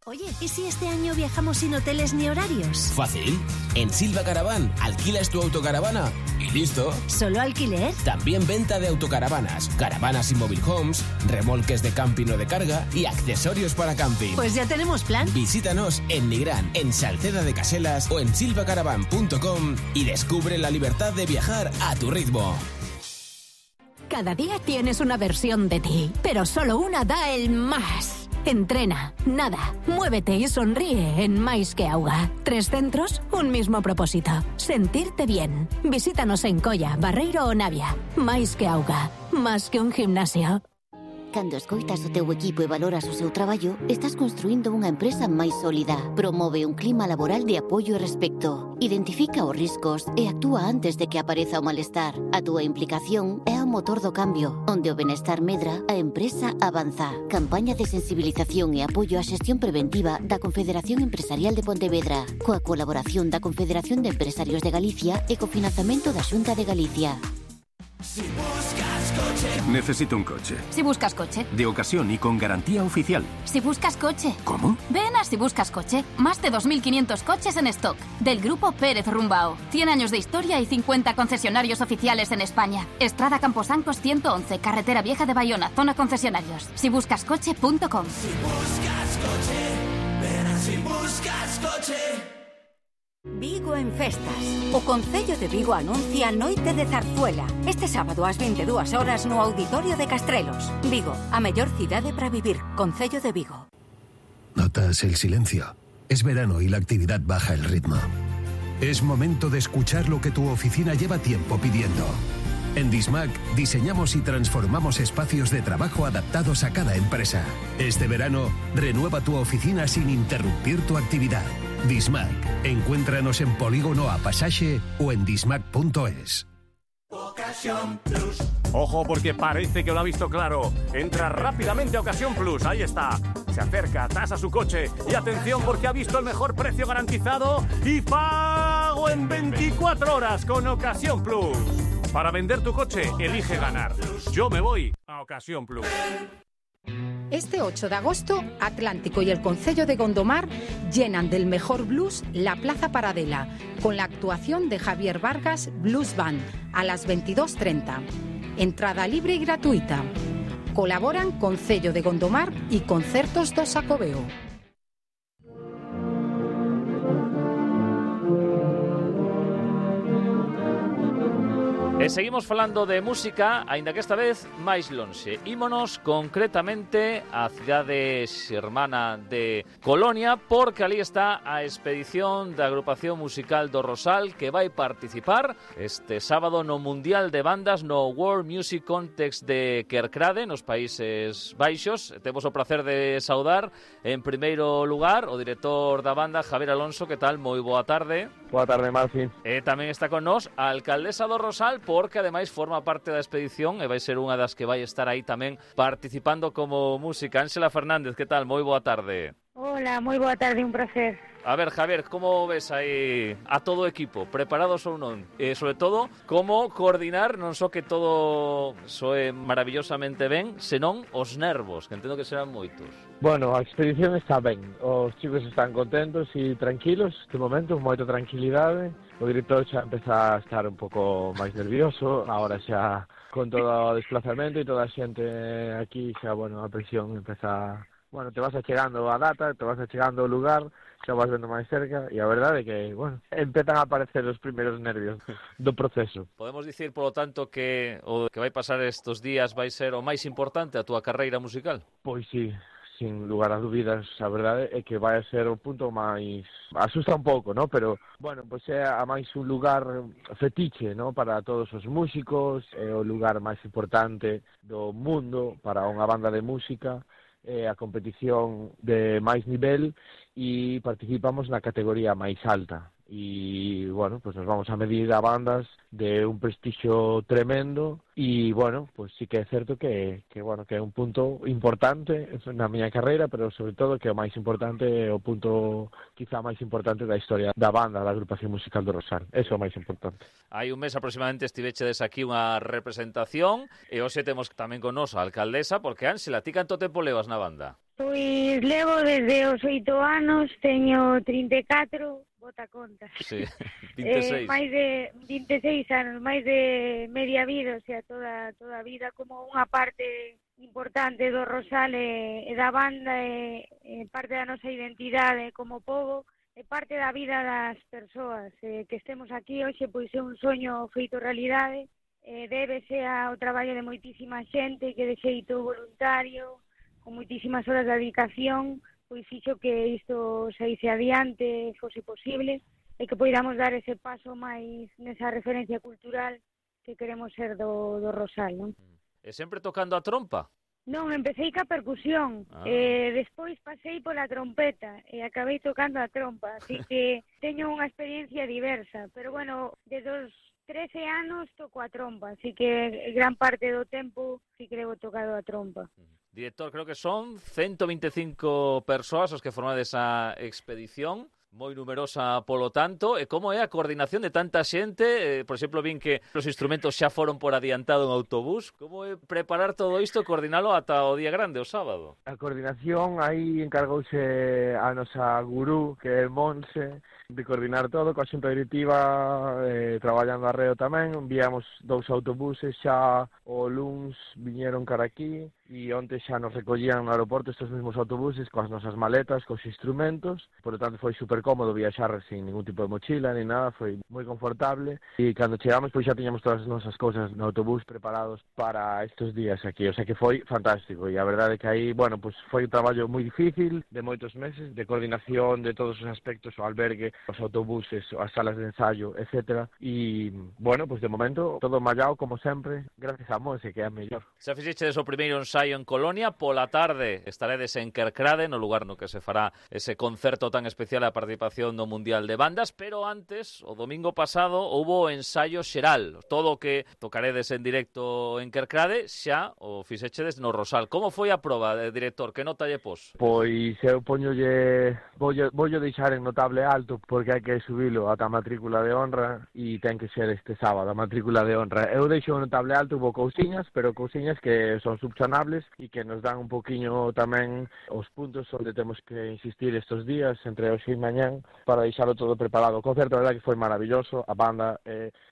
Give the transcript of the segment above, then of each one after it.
Oye, ¿y si este año viajamos sin hoteles ni horarios? Fácil. En Silva Caravan alquilas tu autocaravana y listo. ¿Solo alquiler? También venta de autocaravanas, caravanas y mobile homes, remolques de camping o de carga y accesorios para camping. Pues ya tenemos plan. Visítanos en Nigrán, en Salceda de Caselas o en silvacaravan.com y descubre la libertad de viajar a tu ritmo. Cada día tienes una versión de ti, pero solo una da el más. Entrena, nada, muévete y sonríe en Mais que Auga. 3 centros, un mismo propósito. Sentirte bien. Visítanos en Coia, Barreiro o Navia. Mais que Auga. Más que un gimnasio. Cando escoitas o teu equipo e valoras o seu traballo, estás construindo unha empresa máis sólida. Promove un clima laboral de apoio e respecto. Identifica os riscos e actúa antes de que apareza o malestar. A túa implicación é o motor do cambio. Onde o benestar medra, a empresa avanza. Campaña de sensibilización e apoio á xestión preventiva da Confederación Empresarial de Pontevedra, coa colaboración da Confederación de Empresarios de Galicia e co financiamento da Xunta de Galicia. Si buscas coche. Necesito un coche. Si buscas coche. De ocasión y con garantía oficial. Si buscas coche. ¿Cómo? Ven a Si buscas coche. Más de 2.500 coches en stock. Del grupo Pérez Rumbao. 100 años de historia y 50 concesionarios oficiales en España. Estrada Camposancos 111, Carretera Vieja de Bayona, zona concesionarios. Sibuscascoche.com. Si buscas coche. Ven a Si buscas coche. Vigo en festas. O Concello de Vigo anuncia Noite de Zarzuela. Este sábado ás 22 horas no Auditorio de Castrelos. Vigo, a mellor cidade para vivir. Concello de Vigo. ¿Notas el silencio? Es verano y la actividad baja el ritmo. Es momento de escuchar lo que tu oficina lleva tiempo pidiendo. En Dismac diseñamos y transformamos espacios de trabajo adaptados a cada empresa. Este verano, renueva tu oficina sin interrumpir tu actividad. Dismac. Encuéntranos en Polígono A Pasaje o en dismac.es. Ocasión Plus. Ojo, porque parece que lo ha visto claro. Entra rápidamente a Ocasión Plus. Ahí está. Se acerca, tasa su coche. Y atención, porque ha visto el mejor precio garantizado y pago en 24 horas con Ocasión Plus. Para vender tu coche, elige ganar. Yo me voy a Ocasión Plus. Este 8 de agosto, Atlántico y el Concello de Gondomar llenan del mejor blues la Plaza Paradela, con la actuación de Javier Vargas Blues Band a las 22:30. Entrada libre y gratuita. Colaboran Concello de Gondomar y Concertos do Xacobeo. E seguimos falando de música, aínda que esta vez máis lonxe. Ímonos concretamente á cidade xermana de Colonia, porque ali está a expedición da agrupación musical do Rosal, que vai participar este sábado no Mundial de Bandas no World Music Contest de Kerkrade, nos Países Baixos. Temos o placer de saudar, en primeiro lugar, o director da banda, Javier Alonso. Que tal? Moi boa tarde. Boa tarde, Marci. E tamén está con nós a alcaldesa do Rosal, porque ademais forma parte da expedición e vai ser unha das que vai estar aí tamén participando como música. Ángela Fernández, que tal? Moi boa tarde. Hola, moi boa tarde, un placer. A ver, Javier, como ves aí a todo o equipo? Preparados ou non? E, sobre todo, como coordinar non só que todo soe maravillosamente ben, senón os nervos, que entendo que serán moitos. Bueno, a expedición está ben. Os chicos están contentos e tranquilos, de momento, moita tranquilidade. O director xa empeza a estar un pouco máis nervioso, agora xa con todo o desplazamento e toda a xente aquí, xa, bueno, a presión empeza... Bueno, te vas achegando a data, te vas achegando ao lugar, xa vas vendo máis cerca, e a verdade é que, bueno, empezan a aparecer os primeiros nervios do proceso. Podemos dicir, polo tanto, que o que vai pasar estes días vai ser o máis importante a túa carreira musical? Pois sí, sin lugar a dúbidas, a verdade é que vai ser o punto máis... Asusta un pouco, ¿no? Pero, bueno, pois é a máis un lugar fetiche, ¿no? Para todos os músicos, é o lugar máis importante do mundo para unha banda de música, a competición de máis nivel e participamos na categoría máis alta. y bueno, pues nos vamos a medir a bandas de un prestigio tremendo e bueno, pues sí que é certo que bueno, que é un punto importante na miña carreira, pero sobre todo que o máis importante é o punto quizá máis importante da historia da banda, da agrupación musical do Rosal. Eso é o máis importante. Hai un mes aproximadamente estivechedes aquí unha representación e hoxe temos tamén con nos a alcaldesa, porque Ángela, ti canto tempo levas na banda? Pois levo desde os 8 anos, teño 34, bota conta. Sí, 26. Máis de 26 anos, máis de media vida, o sea, toda a vida como unha parte importante do Rosal e da banda, e parte da nosa identidade como pobo, e parte da vida das persoas. Que estemos aquí hoxe, pois é un soño feito realidade, débese ao traballo de moitísima xente que de xeito voluntario, con moitísimas horas de dedicación, pois fixo que isto saíse adiante, fose posible, e que poidamos dar ese paso máis nesa referencia cultural que queremos ser do Rosal, non? E sempre tocando a trompa? Non, empecé ca percusión, despois pasei pola trompeta e acabei tocando a trompa, así que teño unha experiencia diversa, pero bueno, desde os 13 anos toco a trompa, así que gran parte do tempo sí que levo tocado a trompa. Director, creo que son 125 persoas os que formades esa expedición, moi numerosa polo tanto, e como é a coordinación de tanta xente? Por exemplo, vin que os instrumentos xa foron por adiantado en autobús. Como é preparar todo isto e coordinalo ata o día grande, o sábado? A coordinación, aí encargouse a nosa gurú, que é Monse, de coordinar todo, coa xunta directiva, traballando arreo tamén. Enviamos 2 autobuses xa o luns, viñeron cara aquí, e onte xa nos recollían no aeroporto estes mesmos autobuses coas nosas maletas, cos instrumentos. Por lo tanto, foi super cómodo viaxar sin ningún tipo de mochila ni nada, foi moi confortable. E cando chegamos, pois xa tiñamos todas as nosas cousas no autobús preparados para estes días aquí. O sea que foi fantástico, e a verdade é que aí, bueno, pois foi un traballo moi difícil, de moitos meses, de coordinación de todos os aspectos, o albergue, os autobuses, as salas de ensayo, etcétera. E, bueno, pois de momento, todo mallado como sempre, gracias a Monse, que é a mellor. Xa fixechedes o primeiro ensaio en Colonia, pola tarde estaredes en Kerkrade, no lugar no que se fará ese concerto tan especial a participación no Mundial de Bandas, pero antes, o domingo pasado, houbo ensaio xeral. Todo o que tocaredes en directo en Kerkrade xa o fixechedes no Rosal. Como foi a proba, director? Que nota lle pos? Pois eu voullo deixar en notable alto, porque hai que subilo ata a matrícula de honra e ten que ser este sábado a matrícula de honra. Eu deixo en notable alto, hubo cousiñas, pero cousiñas que son subsanables e que nos dan un poquinho tamén os puntos onde temos que insistir estes días, entre hoxe e mañán, para deixalo todo preparado. O concerto, a verdade, que foi maravilloso, a banda,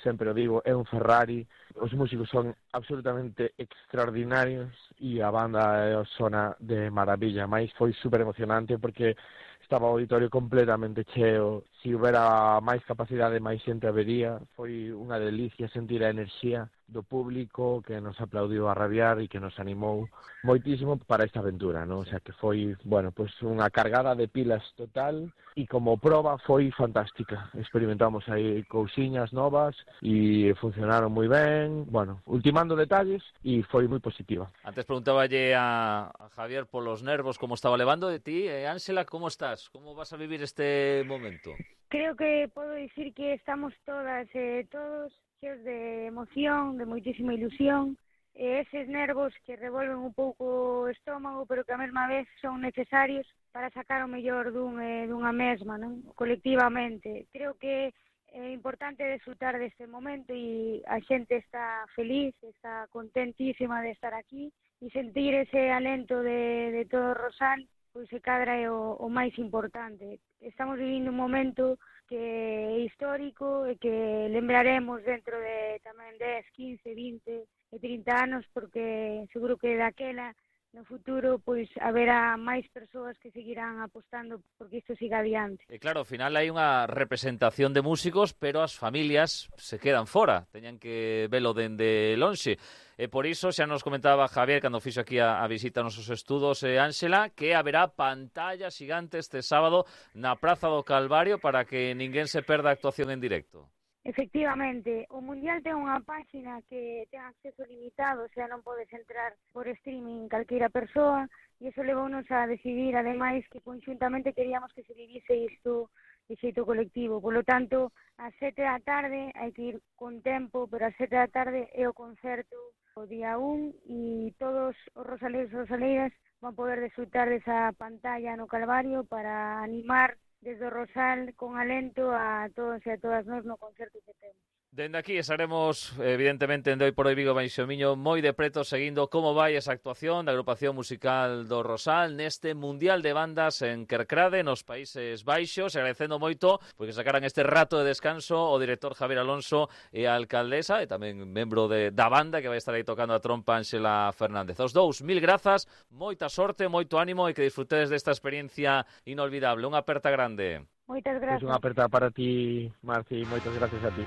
sempre o digo, é un Ferrari, os músicos son absolutamente extraordinarios e a banda sona de maravilla, máis foi super emocionante porque estaba o auditorio completamente cheo, se houbera máis capacidade, máis xente habería, foi unha delicia sentir a enerxía do público que nos aplaudiu a rabiar e que nos animou moitísimo para esta aventura, ¿no? O sea que foi, bueno, pues unha cargada de pilas total e como proba foi fantástica. Experimentamos aí cousiñas novas e funcionaron moi ben, bueno, ultimando detalles e foi moi positiva. Antes preguntaballe a Javier polos nervos como estaba levando de ti, Ángela, como estás? Como vas a vivir este momento? Creo que podo dicir que estamos todas e todos cheos de emoción, de moitísima ilusión, e eses nervos que revolven un pouco o estómago, pero que a mesma vez son necesarios para sacar o mellor dunha mesma, non? Colectivamente. Creo que é importante desfrutar deste momento e a xente está feliz, está contentísima de estar aquí e sentir ese alento de todo Rosal, pois se cadra é o máis importante. Estamos vivindo un momento que é histórico e que lembraremos dentro de tamén 10, 15, 20 e 30 anos, porque seguro que daquela no futuro pois haberá máis persoas que seguirán apostando porque isto siga adiante. E claro, ao final hai unha representación de músicos, pero as familias se quedan fora, teñan que velo dende lonxe. E por iso xa nos comentaba Javier cando fixo aquí a visita aos nosos estudos, Ángela, que haberá pantalla xigante este sábado na Praza do Calvario para que ninguén se perda a actuación en directo. Efectivamente, o Mundial ten unha páxina que ten acceso limitado, o sea, non podes entrar por streaming calqueira persoa, e iso levounos a decidir, ademais, que conxuntamente queríamos que se vivise isto de xeito colectivo. Por lo tanto, ás 7 da tarde hai que ir con tempo, pero ás 7 da tarde é o concerto o día 1 e todos os rosaleiros e rosaleiras van poder disfrutar desa pantalla no Calvario para animar desde o Rosal con alento a todos e a todas nós no concerto que temos. Dende aquí estaremos, evidentemente, en Hoy por Hoy Vigo Baixo Miño moi de preto seguindo como vai esa actuación da agrupación musical do Rosal neste Mundial de Bandas en Kerkrade, nos Países Baixos, agradecendo moito porque sacaran este rato de descanso o director Javier Alonso e a alcaldesa e tamén membro da banda que vai estar aí tocando a trompa Ángela Fernández. Os dous, mil grazas, moita sorte, moito ánimo e que disfrutedes desta experiencia inolvidable. Unha aperta grande. Moitas grazas. Unha aperta para ti, Marci, moitas gracias a ti.